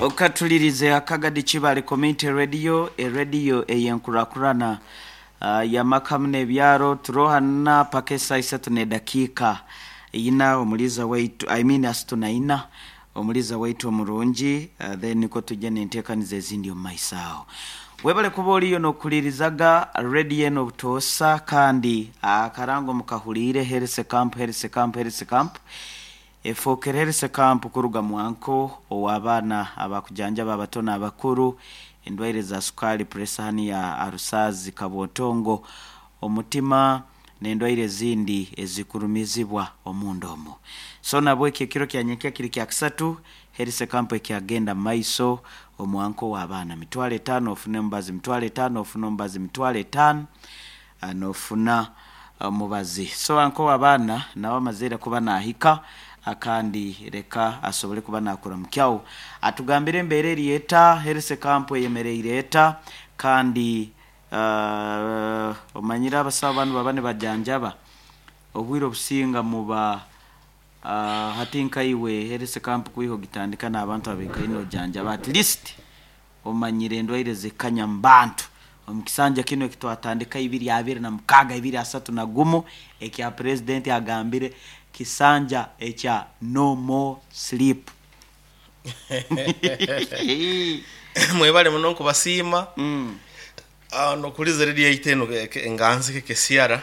Okatulirize Akagadi Kibale Community Radio, erediyo ey'enkurakurana y'amaka hamu n'ebyaro. Turohana paka esaaha isatu n'edakiika ina omuliiza waitu, I mean asatu na ina omuliiza waitu omurungi, then nikwo tujja n'enteekaniza ezindi omu maiso aho. Webale kuba oriyo n'okuhulirizaga rediyo enu obutoosa kandi akarango mukahuliire Health Camp, Health Camp, Health Camp. Efookere Health Camp kuruga mwanko ow'abaana abakujanjaba abato n'abakuru, endwaire za sukaali, puresa haniya, arusaazi, kabwotongo, omutima n'endwaire ezindi ezikurumizibwa omunda omu. So nabweki ekiro kya nyenkya kiri kyakisatu, Health Camp ekyagenda mumaiso omwanko ow'abaana. Mitwalo etaano ofune omubazi, mitwalo etaano ofune omubazi, mitwalo etaano nofuna omubazi. So anko w'abaana nawe amazeire kuba nahika kandi reka asobole kuba nakuramukyaho atugambire embeera eri eta, Health Camp eyemereire eta kandi omanyire abasawo banu baba nibajanjaba obwire obusinga muba hati nkaiwe Health Camp kwiha ogitandika n'abantu abaikaire nojanjaba at least Omanyire endwaire ezikanya mu bantu. Omu kisanja kinu eki twatandika ibiri abiri na mukaaga, ibiri asatu na gumu, ekya Purezidenti agambire kisanja ekya no more sleep. Mwebale muno nkubasiima n'okuhuriza rediyo yaitu enu enganzi KKCR.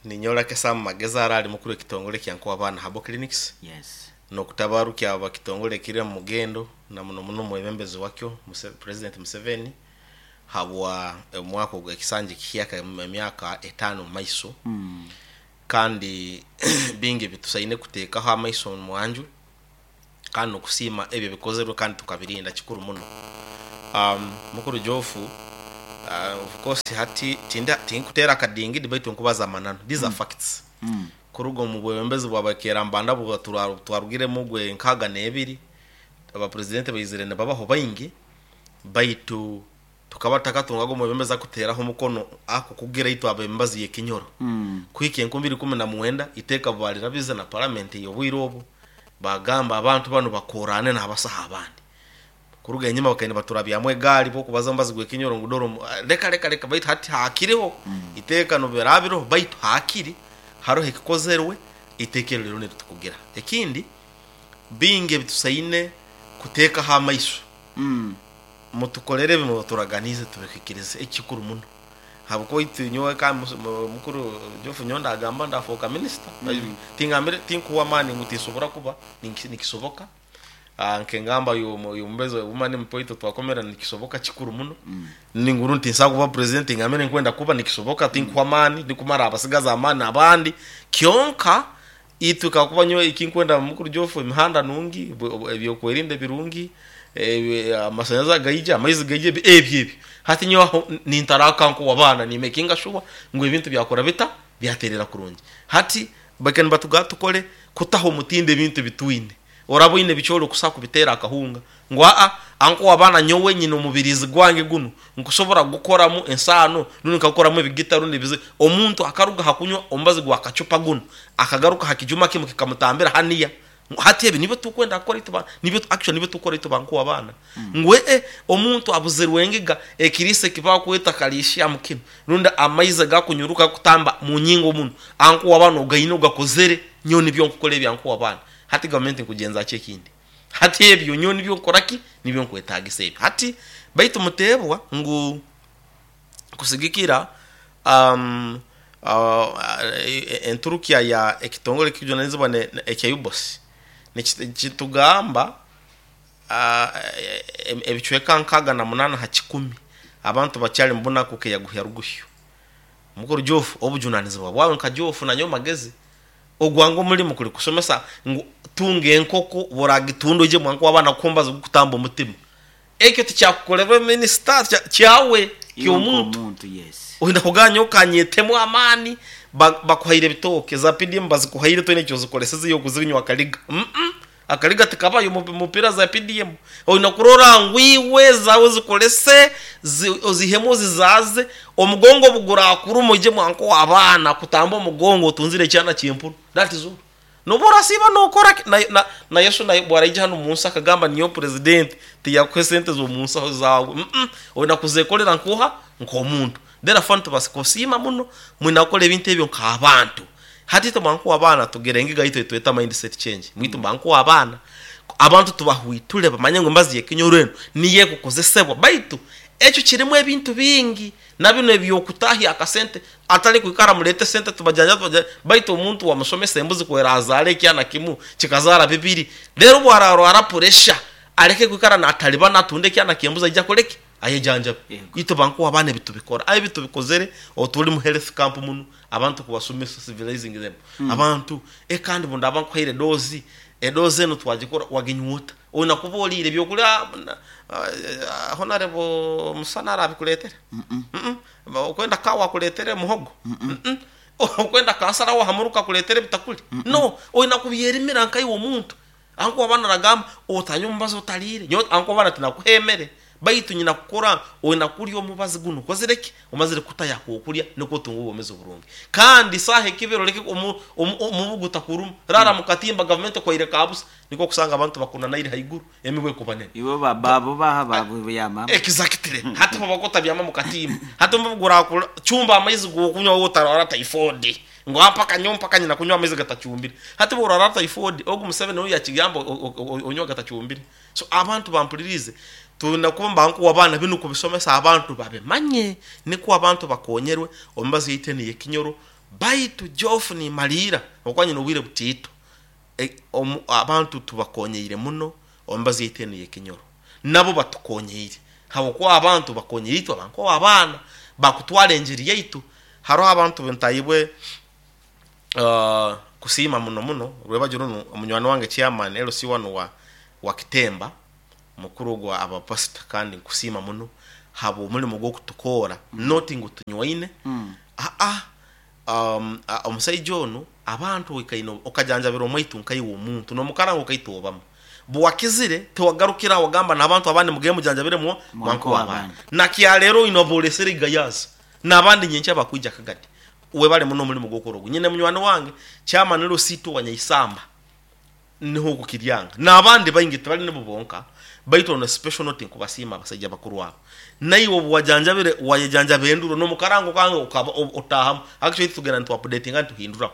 Ninyowe Lucky Sam Magezi ara ari mukuru w'ekitongore kya Nkowabaana Herbal Clinics. Yes. N'okutabarukia aba kitongore ekiri omu mugendo na muno muno omwebembezi wakyo President Museveni habwa omwaka ogu ekisanja ekihyaka emyaka etaano omu maiso kandi bingi ebitusaine kuteekaho amaiso omwanju kandi n'okusiima ebyo ebikozerwe kandi tukabirinda kikuru muno. Mukuru Geoff, of course hati tinkuteera akadingidi baitu nkubaza amananu, these are facts. Kuruga omu bwebembezi bwa Bakeerambanda obu twarugiremu ogwe nkaaga n'ebiri, abapuresidenti baizire nibabaho baingi, baitu tukaba tutakatungaga omwebembezi arikuteeraho omukono arikukugira itwe ab'emibazi y'ekinyoro. Kuhika enkumi ibiri ikumi na mwenda, eiteeka baarirabize na paramenti y'obwire obu, baagamba abantu banu bakoorane n'abasaho abandi. Kuruga enyima bakaba nibaturabyamu egaari bw'okubaza omubazi gw'ekinyoro ngu dora omu reka reka reka baitu hati haakiriho eiteeka n'obu biraabe biriho baitu haakiri haroho ekikozerwe eiteeka eryo ririho niritukugira. Ekindi bingi ebitusaine kuteekaho amaiso, mutukorere ebi muturaganiize tubihikirize ekikuru muno ahabw'okuba itwe nyowe ka mukuru Geoff nyowe ndagamba ndafooka minisita tingambire tinkuhwa amaani ngu tinsobora kuba nikisoboka. Nk'engamba y'omubezi wa Woman MP waitu twakomera nikisoboka kikuru muno. Ningura nti nsobola kuba president ngambe ninkwenda kuba nikisoboka tinkuhwa amaani ndikumara abasigazi amaani abandi kyonka itwe kakuba nyowe ekinkwenda mukuru Geoff emihanda nungi, ebyokwerinda birungi, amasanyarazi gaije, amaizi gaije ebyo ebyo. Hati nyowe aho nintaraka nk'owabaana ni makinga sure ngu ebintu byakora bita? Byaterera kurungi. Hati bakaba nibatugamba tukore kutaho omutindo ebintu ebitwine. Oraba oine biki orikusa kubiteera akahunga ngu aa anko waba na nyowe nyine omubiriizi gwange gunu nkusobora kugukoramu ensaano rundi nkagukoramu ebigita rundi ebiziga. Omuntu akaruga aha kunywa omubazi gwa kacupa gunu akagaruka aha kijuma kimu kikamutambira haniya. Hati ebi nibyo turikwenda kukora itwe ba nibyo actually nibyo turikukora itwe ba nkowabaana ngu ee omuntu abuzirwe engiga ekiriisa eki bakweta kalishiamu kinu rundi amaizi agakunyuruka gakutamba munyingo munu anko waba nogaine ogakozere nyowe nibyo nkukora ebya nkowabaana. Hati gavumenti nkugyenza ki ekindi? Hati ebyo nyowe nibyo nkukora ki? Nibyo nkwetaagisa ebyo. Hati baitu muteebwa ngu kusigikira enturukya ya ekitongore ekikujunanizibwa ekya UBOS nikitugamba ebicweka 68 ha kikumi abantu bakyali mubunaku keyaguhya ruguhyo. Mukuru Geoff obujunanizibwa bwawe nka Geoff nanyowe Magezi Ogwange omurimo kuri kushomesa ngu tunga enkoko bw'oragitunda oije mwanka w'abaana kuha omubazi gw'okutamba omutima. Ekyo tikyakukorerwa minisita, kyawe Iwe nk'omuntu. nk'omuntu, yes. Oine kuganya okanyetemu amaani, bakuhaire ebitooke, za PDM bazikuhaire toine eki ozikoresize iwe okuzinywa akariga. Umm Akariga tikabayo omu mupiira za PDM. Oine kurora ngu iwe ezaawe ozikorese, ozihemu ozizaaze, omugongo obu guraakuruma oije mwanka ow'abaana kutamba omugongo otunzire ekyana ky'empunu. That is all. Nobu orasiiba nookora ki? Na, na, na Yesu naye obu araija hanu omu nsi akagamba ninyowe purezidenti, tiyakuha esente z'omu nsaho zaawe. Mm-mm. Oine kuzeekorera nk'oha? Nk'omuntu. Therefore nitubaasa kusiima muno mwine kukora ebintu ebyo nk'abantu. Hati itwe mba abaana tugira engiga yaitu ei tweta mind set change. Itwe mba abaana, abantu tubahwiture bamanye ngu embazi y'ekinyoro enu niyo erikukozesebwa. Baitu ekyo kirimu ebintu bingi na binu eby'okutahya akasente atari kwikara mureete esente tubajanjabe tubajanjabe baitu omuntu wamushomesa embuzi ku erazaara ekyana kimu kikazaara bibiri reero obu ararwara puresha areke kwikara nataribana atunde ekyana ky'embuzi aije akore ki? Ayejanjabe. Yego. Itwe ba nk'abaana ebi tubikora. Aye ebi tubikozere obu turi mu health camp munu abantu kubasomesa civilizing them abantu eh kandi obu ndaaba nkuhaire edozi, edozi enu twagikora waginywa ota? Oine kuba oriire ebyokurya Honarebo Musana arabikureetera? Okwenda kaawa akureetere muhogo? Okwenda kansara w'aha muruka akureetere ebitakuri? No, oine kubyerimira nkaiwe omuntu. Ahabw'okuba abana aragamba, Otanywa omubazi otariire. Nyowe ahabw'okuba abana tinakuha emere, baitu nyina kukora oina kurya omubazi gunu okozire ki? Omazire kutayo ak'okurya nukwo otunge obwomeezi oburungi. Kandi saaha ekibira oleke omubu gutakuruma. Raara mu katimba gavumenti ekwaire ka busa. Nikwo okusanga abantu bakunanaire haiguru, emibu ekuba nene. Iwe abo baha babyamamu. Exactly. Hati bo bakuba otabyama mu katimba. Hati omubu gurakucumba amaizi g'okunywa waaba otarwara typhoid. Ngu aa mpaka nyowe mpaka nyina kunywa amaizi gatacumbire. Hati bworwara typhoid, ogu Museveni ou yakigamba onywe agatacumbire. So abantu bampuririize, twine kuba mba abaana binu kubisomesa abantu babimanye nikwo abantu bakonyerwe omu mibazi yaitu enu ey'ekinyoro. Baitu Geoff nimaliira habwokuba nyine obwire butiito, abantu tubakonyeire muno omu mibazi yaitu enu ey'ekinyoro. Nabo batukonyeire habwokuba abantu bakonyeire itwe abankwo abaana bakutwara enjiri yaitu. Haroho abantu ntaibwe kusiima muno muno rwebagyo runu munywani wange chairman LC1 wa Kitemba mukuru ogwo aba pastor kandi nkusiima muno habw'omurimo gw'okutukoora not ngu tunywaine aa omusaija onu abantu oikaine okajanjabira omwaitu nkaiwe omuntu n'omukarango kaitu obamu buwakizire tiwagarukira aho wagamba n'abantu abandi mugende mujanjabire mwankuwa abandi nakyaleero oine obolesere igayaza N'abandi nyenkya bakwija kagati. Webale muno omurimo gw'okora ogu. Nyine munywani wange chairman Losito wa Nyaisamba niho oku Kiryanga. N'abandi baingi tibali nibo bonka baitu on a special note nkubasiima abasaija bakuru abo. Naiwe obu wajanjabire wayejanjaba enduro n'omukarango kange okaba otaahamu. Actually itwe tugenda nitu updatinga nituhinduraho.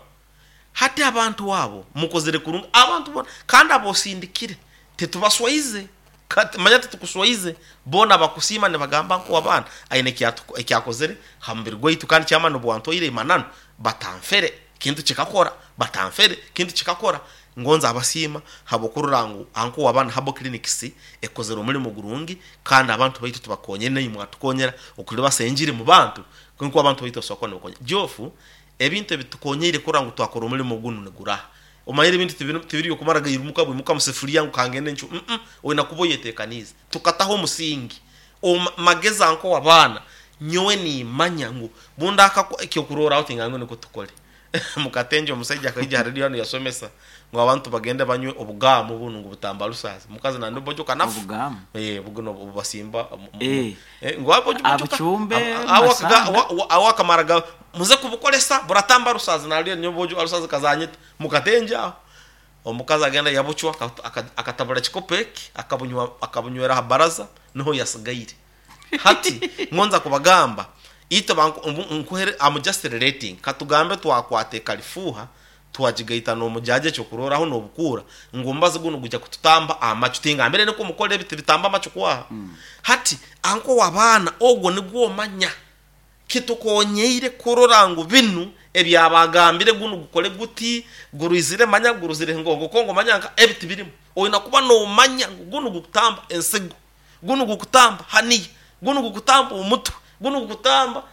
Hati abantu abo mukozire kurungi abantu bona kandi abosindikire titubaswaize kati manya titukuswaize bona bakusiima nibagamba ngu abaana aine eki akozire ha mubiri gwaitu kandi kyamani obu wantwaire mananu batanfere kintu kikakora batanfere kintu kikakora ngonza abasiima habwokurora ngu anko wabana herbal clinics ekozire omurimo gurungi kandi abantu baitu tubakonyire naimwe mwatukonyera okuribasa enjiri mu bantu nkoku abantu baitu basobora kuba nibakonyera Geoff Ebintu ebitukonyeire kurora ngu twakora omulimo gunu niguraha? Omanyire ebintu tibiri by'okumara gairumuka bwimuka mu sefuriya ngu kangende ncwe. Mm-mm, oine kuba oyetekaniize. Tukataho omusingi. Omu magezi ank'ow'abaana, nyowe niimanya ngu bundakakwa ekyokurorraho tingange nukwo tukole. Mukatengye omusaija akaija ha rediyo hanu yasomesa ngu abantu bagende banywe obugaamu bunu ngu butamba alusazi. Mukazi nandi bojoka nafa. Obugaamu? Ee, buno obubasimba Eh. ngu bojoka Abucumbe, awo masanda. awo akamara ga muze kubukoresa buratamba alusazi nalyo nyowe bojo alusazi kazanyita. Mukatengye aho. Omukazi agenda yabucwa akatabura ekikopo eki akabunywa akabunywera aha baraza niho yasigaire. Hati ngonza kubagamba itwe nkuhere am just relating katugambe twakwata ekalifuuha twagigaita n'omujaaja ekyokurorraho n'obukuura ngu omubazi gunu gwija kututamba amacu tingambire nikwo mukore ebi tibitamba amacu kwaha. Hati anko w'abaana ogwo nigwo omanya Kitukonyeire kurora ngu binu ebyabagambire gunu gukole guti, gurwizire manya guruzire ngongo kongo manya nka ebi tibirimu. Oina kuba nomanya ngu gunu gukutamba ensigo, gunu gukutamba haniya, gunu gukutamba omutwe, gunu gukutamba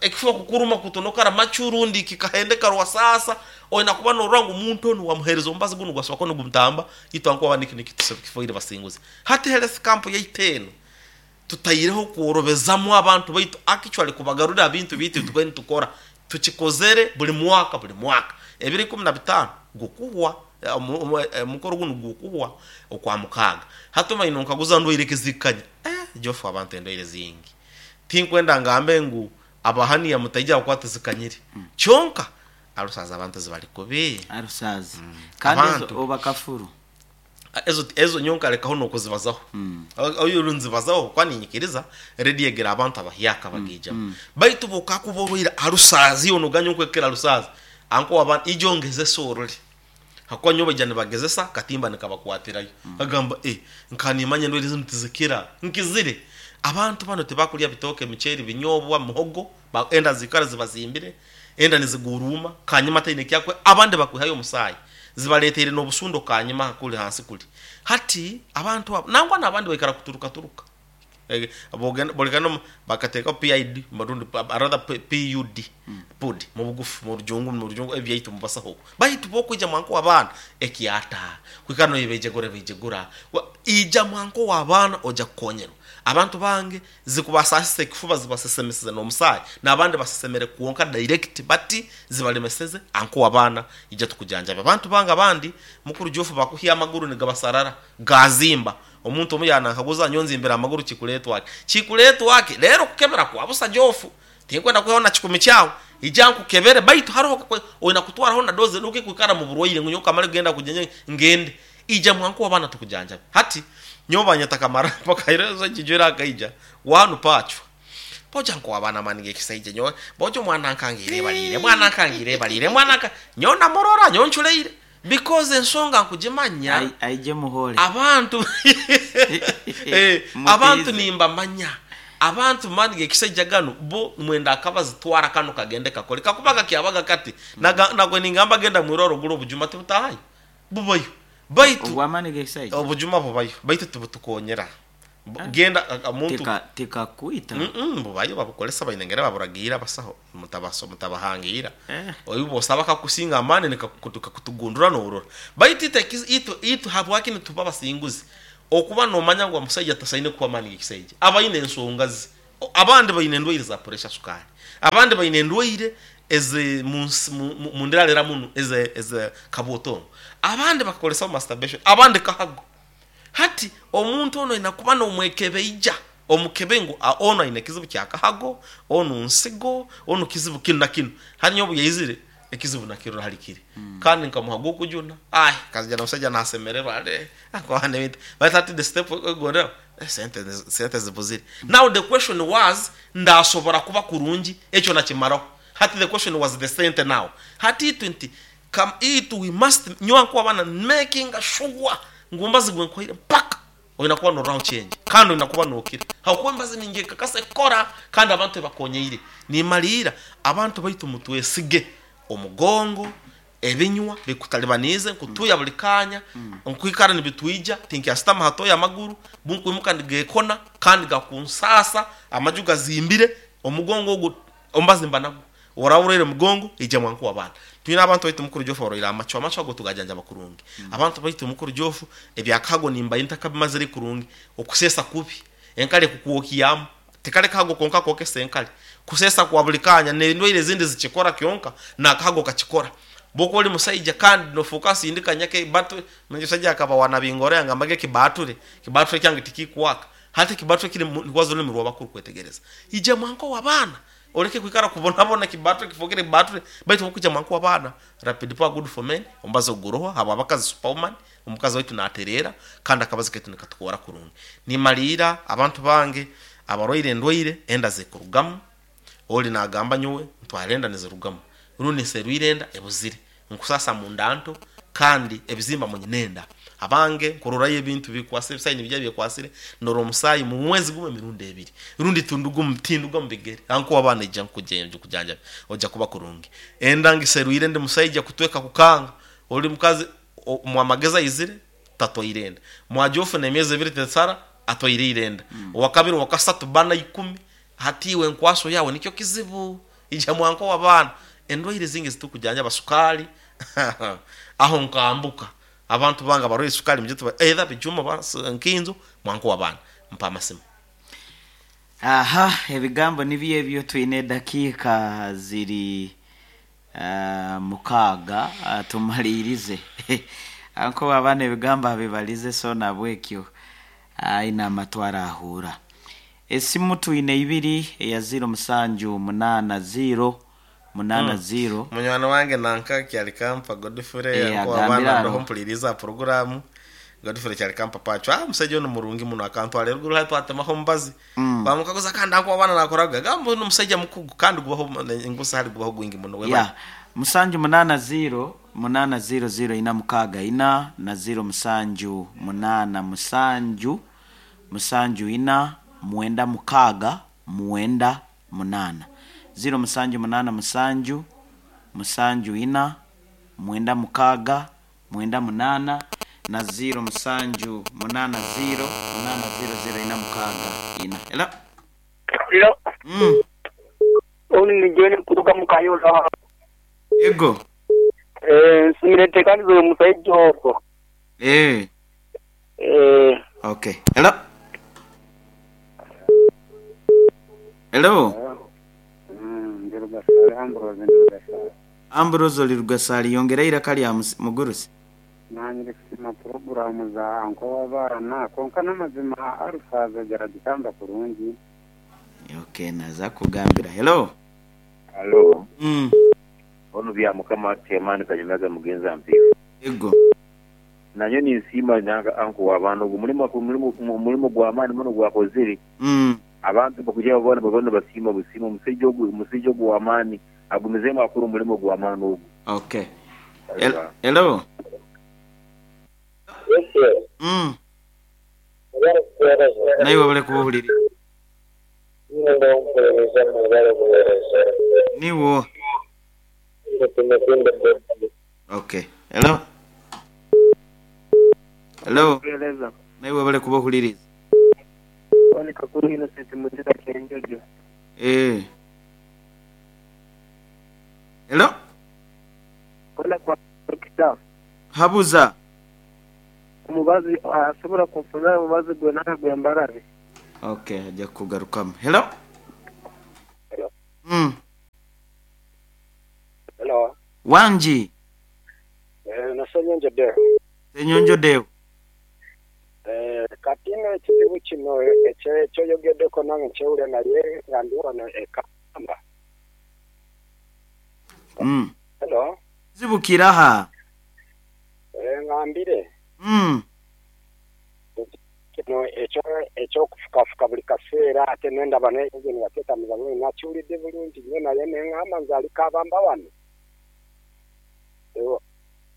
ekifuba kukuruma kutonokara macu rundi kikahendeka rwasaasa. Oina kuba norora ngu omuntu onu wamuhereza omubazi gunu gwasobora kuba nigumutamba itwe ahakuba niki nikitufoire basinguzi. Hati health camp yaitu enu Tutaireho kworobezamu abantu baitu actually kubagarurira aha bintu byaitu ebi tubaire nitukora. Tukikozere buri mwaka buri mwaka. Ebiro 15 gukuhwa, omukoro gunu gukuhwa Okwamukaaga. Hati omanyire nonkaguza ndwaire ki ezikukanya? Eh, Geoff abantu endwaire zingi. Tinkwenda ngambe ngu abahaniya mutaija ahabw'okuba tizikanyire. Kyonka. Alusazi abantu zibali kubi. Alusazi. Kandi ezo Abantu. oba kafuru. Ezo ezo nyowe nkarekaho n'okuzibazaho. Oyo nzibazaho kuba niinyikiriza rediyo egera abantu abahyaka bagaijamu. Baitu bw'okakuba orwaire alusazi yoona oganye nkwekera alusazi, anko waba ijo ongezese orole. Hakuba nyowe baija nibagezesa katimba nikabakwatirayo. Agamba eh nkaba nimanya endwaire zinu tizikira. Nkizire. Abantu banu tibakurya bitooke, miceeri, binyobwa, muhogo, enda ziikara zibazimbire, enda niziguruuma, kanyima taine eki akukora, abandi bakwihayo omusaayi. Zibaleeteire n'obusundo kanyima kuri hansi kuri. Hati abantu abo nangwa n'abandi baikara kuturukaturuka. Bwogenda bworekana omu bakateekaho PID rundi rather PUD, PUD mu bugufu mu rujungu mu rujungu ebyaitu mu basaho okwo. Baitu bo okwija mwanka ow'abaana ekyata, kwikara noyebejegura bejegura, ija mwanka ow'abaana oja kukonyerwa. Abantu bange zikubasaasisa ekifuba zibasesemesize n'omusaayi, n'abandi basesemere kwonka direct bati zibalemeseze anko w'abaana ija tukujanjabe. Abantu bange abandi mukuru Geoff bakuhya amaguru nigabasarara gaazimba. Omuntu omu yaanankaguza nyowe nzimbire amaguru kikureetwa ki? Kikureetwa ki? Reero okukebera kwa busa Geoff. Tinkwenda kwihaho na kikumi kyawe. Ija nkukebere baitu haroho oine kutwaraho na dose nobu kwikara mu burwaire ngu nyowe kamare kugenda kujanjabwa ngende. Ija mwangu w'abaana tukujanjabe. Hati nyowe banyeta Kamara mpaka ira kijwire akaija wanu paachwa. Boja nk'ow'abaana amaani g'ekisaija nyowe boja omwana nkangiire ebaliire mwana nkangiire ebaliire mwana nka nyowe namurora nyowe nculeire because ensonga nkugimanya Ai- Aije muhore. abantu eh, abantu Mutiize. nimbamanya abantu maani g'ekisaija ganu bo mwenda akabazitwara kanu kagende kakole kakuba kakyabaga kati naga nagwe ningamba genda mwirwaro ogure obujuma tibutahayo bubayo baitu Obw'amaani g'ekisaija. obujuma bubayo baitu tibutukonyera Genda omuntu Tika tikakwita. Mm bubayo babukoresa baine engeri baburagiire abasaho mutabaso mutabahangiira. Eh. Obu bwosaba kakusinga amaani nikakutugundura norora. Baitu itwe itwe itwe habwaki nituba abasinguzi? Okuba nomanya ngu omusaija tasaine kuhwa amaani g'ekisaija. Aba aine ensonga ze. Abandi baine endwaire za puresha sukaali. Abandi baine endwaire eze munsi mundirarira munu eze eze kabwotongo. Abandi bakakoresa masturbation. Abandi kahago. Hati omuntu onu oine kuba nomwekebeija, omukebe ngu onu aine ekizibu kya kahago, onu nsigo, onu kizibu kinu na kinu. Hati nyowe obu yaizire, ekizibu nakirora hali kiri. Kandi nkamuha gw'okujuna, ai akaija n'omusaija nasemererwa ale, akwahana ebintu. Baitu hati the step egonderaho, sente sente zibuzire. Now the question was, ndasobora kuba kurungi? Ekyo nakimaraho. Hati the question was the sente now. Hati itwe nti, Come itwe we must nyowe nkwabana makinga sure ngu omubazi gwenkuhaire mpaka oyina kuba nororaho change kandi oyina kuba nokira habwokuba emibazi ningekakasa ekukora kandi abantu ebakonyeire. Nimaliira abantu baitu mutwesige omugongo, ebinywa bikutalibaniize nkutuuya buli kaanya, nkwikara nibitwija tinkyasitama ha toyi amaguru bunkwimuka nigekona kandi gakunsaasa amaju gazimbire omugongo ogu omubazi mba nagwo. Oraba orwaire mugongo, ija mwangu w'abaana. Twine abantu baitu mukuru Geoff abarwaire amacwa, amacwa ago tugajanjaba kurungi. Abantu baitu mukuru Geoff ebyakahago nimbaire ntakabimazire kurungi, okuseesa kubi, enkari ekukwokyamu, tikari kahago konka akookesa enkari, kuseesa kwa buri kaanya n'endwaire ezindi zikikora kyonka n'akahago kakikora. Bwokuba ori musaija kandi nofuuka nsindika nyake battery, omusaija akaba wa Nabingoro yangamba ekibature, ekibature kyange tikikwaka. Hati ekibature kiri nikwaza orurimi rw'abakuru kwetegereza. Ija mwangu ow'abaana. Oreke kwikara kubonabona kibattle kifokere battle baitu obu kwija mwangu w'abaana rapid power good for men omubazi oguroho habwa bakazi superwoman omukazi waitu natereera kandi akabazi kaitu nikatukoora kurungi. Nimaliira abantu bange abarwaire endwaire enda zikurugamu ori nagamba nyowe ntwara enda nizirugamu rundi nserwire enda ebuzire Nkusaasa munda nto kandi ebizimba munyina enda. Abange nkurorayo ebintu bikwasire, ebisayi nibija byekwasire, ndora omusaayi mu mwezi gumu emirundi ebiri. Rundi tinduga mu bigere. Anko waba naija nkujanjabe, oja kuba kurungi. Enda ngiserwire ndi musaija kutweka kukanga. Ori mukazi mwamagezi aizire tatwaire enda. Mwaja ofuna emyezi ebiri tesara atwaire ira enda. Owakabiri, owakasatu, bana, ikumi. Hati iwe enkwaso yawe nikyo kizibu. Ija mwanka ow'abaana, endwaire ezindi ezitukujanjaba sukaali, aho nkambuka. Abantu bange abarwaire sukaali mwije tubahe either bijuma oba nkinzo, mwanka ow'abaana. Mpa amasimu. Aha, ebigambo nibyo ebyo twine edakiika ziri mukaaga tumaliirize. Anko w'abaana ebigambo abibalize so nahabwekyo aine amatu araahuura. Esimu twine ibiri, eya ziiro musanju munaana ziiro, munaana ziro. Munywani wange nanka Kyalikampa Godfrey Eh, anko agambire abaana aro. ndoho mpuliriza aha puroguraamu Godfrey Kyalikampa Pacho ah omushaija onu murungi muno akantwara eruguru hati twatemaho omubazi bamukaguza kandi anko abaana nakoraga gamba onu omushaija mukugu kandi gubaho engusa hari gubaho gwingi muno webale. Ya musanju munaana ziro munaana ziro ziro ina mukaaga ina na ziro musanju munaana musanju musanju ina mwenda mukaaga mwenda munaana ziro musanju munaana musanju musanju ina mwenda mukaaga mwenda munaana na ziro musanju munaana ziro munaana ziro ziro ina mukaaga ina. Hello? Hello. Mm. Onu ni John kutoka Mukayola. Ego. Eh, nsimire tekanizo omusajja ogwo. Eh. Eh, Okay. Hello? Hello? Ndi Rugasari Ambrose ndi Rugasari. Ambrose oli Rugasari yongera iraka lya mugurusi. Nanyire kusima puroguramu za anko w'abaana konka n'amazima arusaza geragitamba kurungi. Okay, naza kugambira. Hello? Halo, Mm. ono bya mukama temani kanyumaga mugenza mpifu. Ego. Nanyo ninsiima nanga anko w'abaana ogwo mulimo mulimo gw'amaani muno gwakozire. Abantu bakuja babona babona basiima busiima omusajja ogwo omusajja ogwo w'amaani agumizeemu akora omulimo gw'amaani ogwo. Okay. Hello? Mm. Naye wabale kubuulira. Niwo. Okay. Hello? Hello? kueleza. Naye wabale kubuuliriza. Oni Kakuru Innocent Mutita Kenjojo. Eh. Hello? Kola kwa kita. Habuza. Omubazi asobola kunfuna omubazi gwe naka gwe mbarabi. Okay, ajja kugarukamu. Hello? Hello. Mm. Hello. Wangi. Eh, nasenyonjo deo. Senyonjo Deo. Eh, kati nno ekizibu kino ekyoyogeddeko nange nkyewulira naye nga ndi wano e Kamba. Mm. Hello. Zibukira ha. Eh, ngambire Mm. kino ekyo ekyokufukafuka buli kaseera ate nendaba n'engeni yateetamiza bulungi nakiwulidde bulungi nnyo naye neŋŋamba nze aliko abamba wano.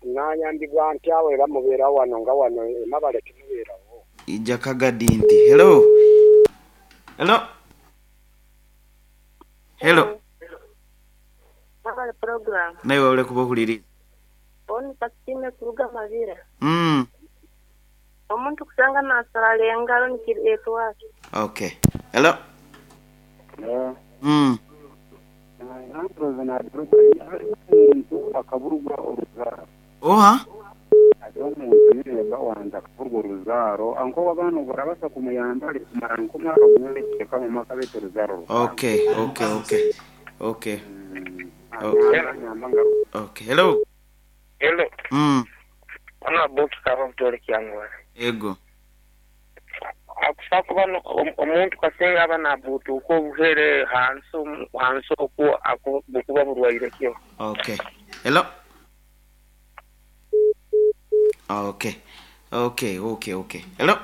Nayambibwa ntya era mubeera wano nga wano emabale temubeerawo. Ijja kagadi nti. Hello? Hello? Hello? Mwabale program. Naye wabale kubuuliriza. Oni pasitime kuruga Mabira. Mm. Omuntu kusanga nasalala engalo nikireetwaki. Okay. Hello? Hello. Mm. Ambrose nagaruka omuntu akaburwa oruzaaro. Oha? Ate omuntu yireba wanza akaburwa oruzaaro anko w'abaana barabasa kumuyamba ari kumara nk'omwaka gumwe n'ekicweka mu mwaka baitu oruzaaro rukanga. Okay, okay, okay. Okay. Okay. Anyamba ngaruka. Okay. Hello? Hello. Mm. Ona buki kaba mutole kyangwara. Ego. Akufa kuba omuntu kasinga aba nabutuuka obuhere hansi hansi okwo bukuba burwaire kyo. Okay. Hello? Okay. Okay, okay, okay. Hello?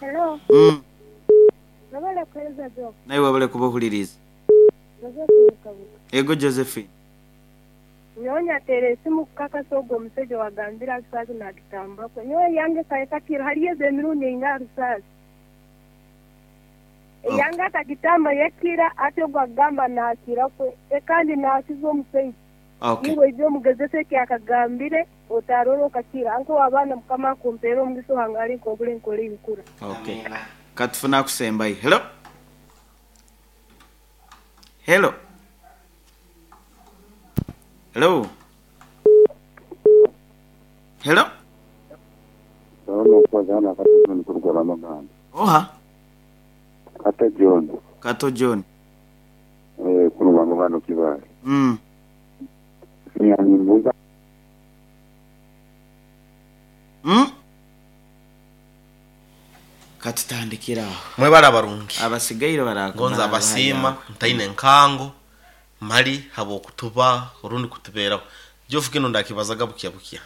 Hello. Mm. Mwabale kueleza jo. Naye wabale kubuuliriza. Josephine Kabuka. Ego Josephine. Nyonya tere esimu kukakasa ogwo omusajja wagambira Arusazi nagitambako. Nyowe yange kaekakira hariyo emirundi einga Arusazi. Okay. Eyange akagitamba yekira ate ogwo agamba naakira kwe kandi naakiza omusajja. Okay. Niwe ije omugezese eki akagambire otarora okakira. Anko abaana mukama akumpeera omugisa ohangare nkobure nkore ebikura. Okay. Katufuna kusembayo. Hello? Hello? Hello? Hello? Ndabona okubaza hano Kato John kuruga Ramaganda. Oha? Kato John Kato John. eh kuruga Ramaganda Kibaale. Mm. Nyambuza Mm? Katutandikira aho. Mwebale abarungi. Abasigaire Ngonza abasiima ntaine nkango. Mali habw'okutuba orundi kutubeeraho. Geoff kinu ndakibazaga bukya bukya.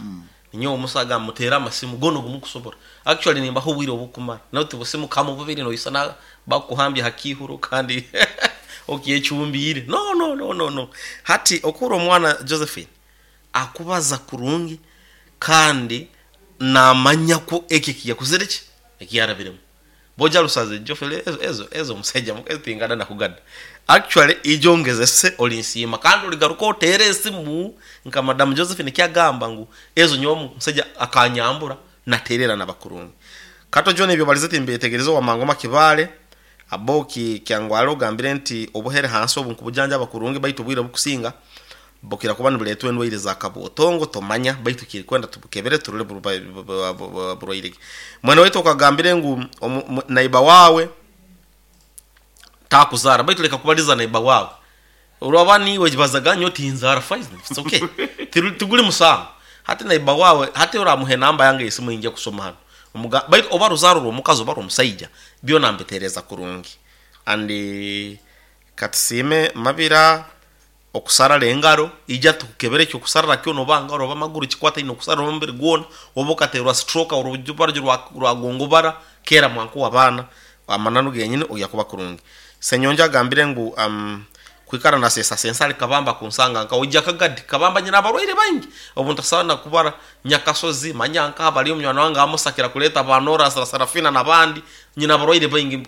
Ninyowe omusa agamba muteere amasimu goona ogu mukusobora. Actually nimbaha obwire obukumara. Not busimu kamu bubiri noisana bakukuhambya ha kiihuro kandi okyecumbiire. No no no no no. Hati okuhurra omwana Josephine akubaza kurungi kandi namanya ku eki ekiyakozire ki ekiyarabiremu. Boja Lusaze Geoffrey ezo ezo ezo omusaija mukazi tingada na kugada. Actually ijo ngezese olinsiima kandi oligaruka oteere esimu nka madam Josephine ekyagamba ngu ezo nyowe omusaija akanyambura naterera naba kurungi. Kato John ebyo obalize timbyetegerize owa Mangoma Kibaale Aboki Kyangwale ogambire nti obuhere hansi obu nkubujanjaba kurungi baitu obwire obukusinga Bukira kuba nibureetwa endwaire za kabwotongo tomanya, baitu kirikwenda tubukebere turore burwaire ki. Mwene waitu okagambire ngu naiba waawe takuzaara, baitu leka kubaliza naiba waawe. Oraba niiwe bazaga nyowe tinzaara fine, it's okay. Tiguri musango. Hati naiba waawe, hati oramuha enamba yange ey'esimu ei nja kusoma hanu, baitu oba ruzaaro rw'omukazi oba rw'omusaija, byona mbitereeza kurungi. And katusiime Mabira. Okusarara engaro, ija tukukebere eky'okusarara kyona oba ngaro oba maguru kikwataine okusarara omubiri gwona, oba okaterwa stroke orubaryo rwagongobara, keera mwanku w'abaana, amananu genyini oija kuba kurungi. Ssenyonjo agambire ngu kwikara nasesasensa ari Kabamba kunsanga nka oija Kagadi, Kabamba nyine abarwaire baingi obu ntasobola na kubara, Nyakasozi, manya nkaha bariyo munywani wange Amos akira kureeta ba Norah, Sarafina n'abandi, nyine abarwaire baingi,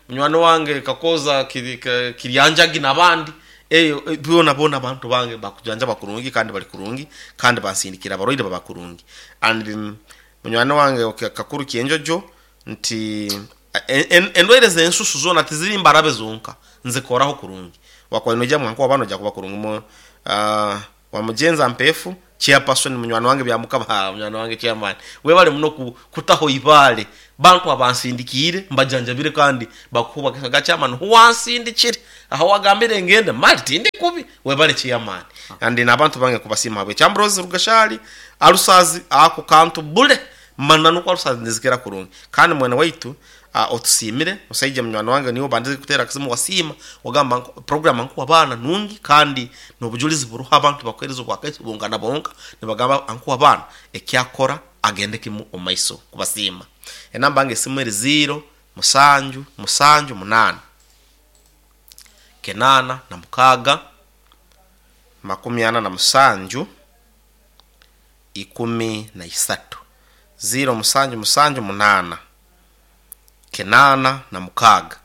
munywani wange Kakooza Kiryanjagi n'abandi. Eyo boonaboona abantu bange bakujanjaba kurungi kandi bari kurungi kandi bansindikira abarwaire baba kurungi. And munywani wange Kakuru Kyenjojo nti endwaire z'ensusu zoona tiziri mbarabe zonka, nzikoraho kurungi. Wakuba noija mwanka waba noija kuba kurungi. Wamugyenza Mpeefu, Chairperson, munywani wange Byamukama, haa munywani wange Chairman, webale muno kutaho eibaale. Bantu abansindikiire mbajanjabire kandi bakuhubwa ga Chairman hu wansindikire aha wagambire ngende mali tindi kubi. Webale Chairman. And n'abantu bange nkubasiima ahabw'ekyo. Ambrose Rugashari, Alusazi ako kantu bule mananu ku alusazi nizikira kurungi. Kandi mwene waitu Otusiimire musaija munywani wange niiwe obandize kuteera akasimu wasiima wagamba ngu program nkuha abaana nungi kandi n'obujulizi buruho abantu bakuheereza obwakaiso bonka na bonka nibagamba ankuha abaana eki akora agende kimu omu maiso kubasiima. Enamba yange esimu eri ziiro musanju musanju munaana kenaana na mukaaga 47 13 ziiro musanju musanju munaana 86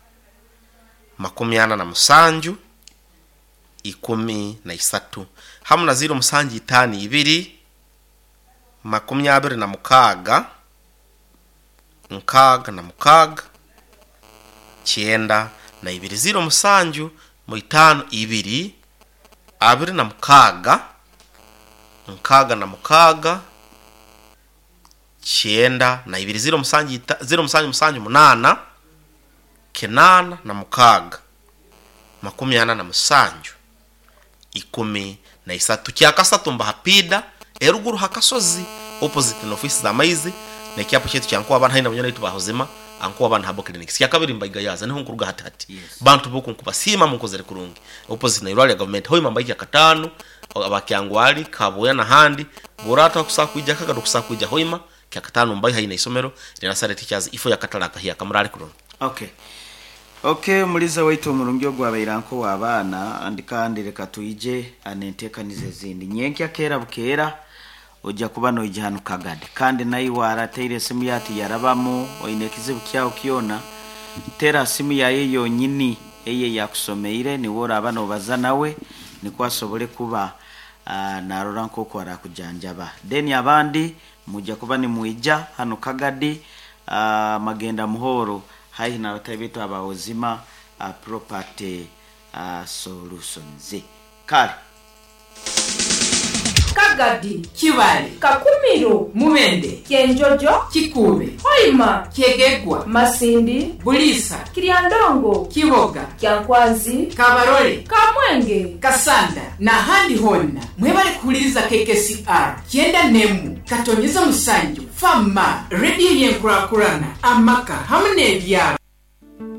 47 13 hamu na ziiro musanju itaano ibiri 26 66 92 ziiro musanju mu itaano ibiri 26 66 92 ziiro musanju ita, ziiro musanju musanju munaana, kinaana na mukaaga, 47, 13. Kyakasatu mbaha piida eruguru ha kasozi opposite n'ofiisi z'amaizi n'ekyapa kyaitu kya Nkuwa Abaana haihi na banywani baitu ba Hozima Ankuwa Abaana Herbal Clinics. Kyakabiri mbaiga yaaza niho nkuruga hati hati. Bantu b'oku nkubasiima munkozere kurungi. Opposite na irwariro lya gavumenti Hoima mbaija Kyakataano aba Kyangwali, Kabwoya n'ahandi, bw'oraataha kusobola kwija Kagado kusobola kwija Hoima, Kyakataano mbayo haihi n'eisomero rya Nasare Teachers ifo y'akatale akahyaka. Muraare kurungi. Ok. Ok omuliza waitu omurungi ogu abaire anka ow'abaana and kandi leka twije n'enteekaniza ezindi. Nyenkya keera bukeera oja kuba noija hanu Kagadi. Kandi naiwe arateire esimu ye ati yarabamu, oine ekizibu kyawe kyona, teera simu yaye yonyini eyo ei akusomeire, niwe oraaba nobaza nawe nikwo asobole kuba narora nk'oku arakujanjaba. Then abandi mwija kuba nimwija hanu Kagadi, Magenda Muhoro, haihi n'abatahi baitu aba Ozima Property Solutions. Kale. Kagadi, Kibaale, Kakumiro, Mubende, Kyenjojo, Kikuube, Hoima, Kyegegwa, Masindi, Buliisa, Kiryandongo, Kiboga, Kyankwanzi, Kabarole, Kamwenge, Kasanda n'ahandi hoona. Mwebale kuhuliriza KKCR kyenda n'emu katonyeza musanju FAMA, rediyo y'enkurakurana, amaka hamu n'ebyaro.